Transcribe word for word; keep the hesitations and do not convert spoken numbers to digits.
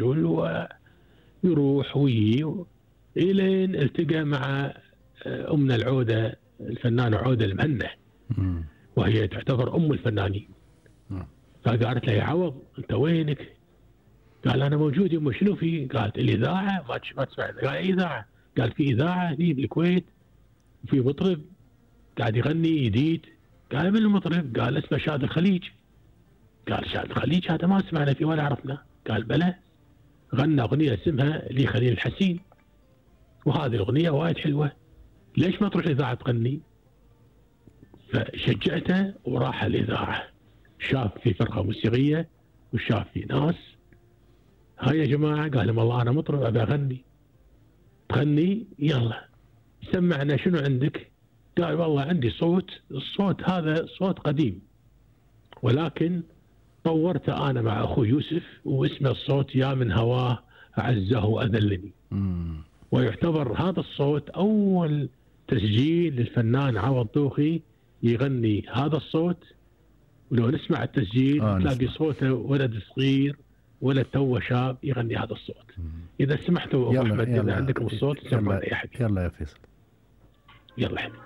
ويروح ويجي إلين التقى مع أمنا العودة الفنانة عودة المهنة، وهي تعتبر أم الفنانين. فقالت له يا عوض أنت وينك؟ قال أنا موجود يمه. شنو في؟ قالت الإذاعة ما تسمع. قال أي إذاعة؟ قال في إذاعة هني بالكويت وفي مطرب قاعد يغني جديد. قال من المطرب؟ قال اسمه شاد الخليج. قال شاد الخليج هذا ما سمعنا فيه ولا عرفنا. قال بلى، غنى أغنية اسمها لي خليل الحسين، وهذه الأغنية وايد حلوة، ليش ما تروح الإذاعة تغني؟ فشجعته وراح الإذاعة، شاف في فرقة موسيقية وشاف في ناس. هاي يا جماعة قال لهم والله أنا مطرب أبي أغني. تغني؟ يلا سمعنا شنو عندك؟ قال والله عندي صوت، الصوت هذا صوت قديم ولكن طورته أنا مع أخوي يوسف واسمه الصوت يا من هواه أعزه وأذلني. ويعتبر هذا الصوت أول تسجيل للفنان عوض دوخي يغني هذا الصوت. ولو نسمع التسجيل آه تلاقي صوته ولد صغير، ولد توه شاب يغني هذا الصوت. مم. إذا سمحتوا أبو أحمد إذا عندكم الصوت سمعنا يا حبيبي. يلا يا فيصل. يلا حبيبي.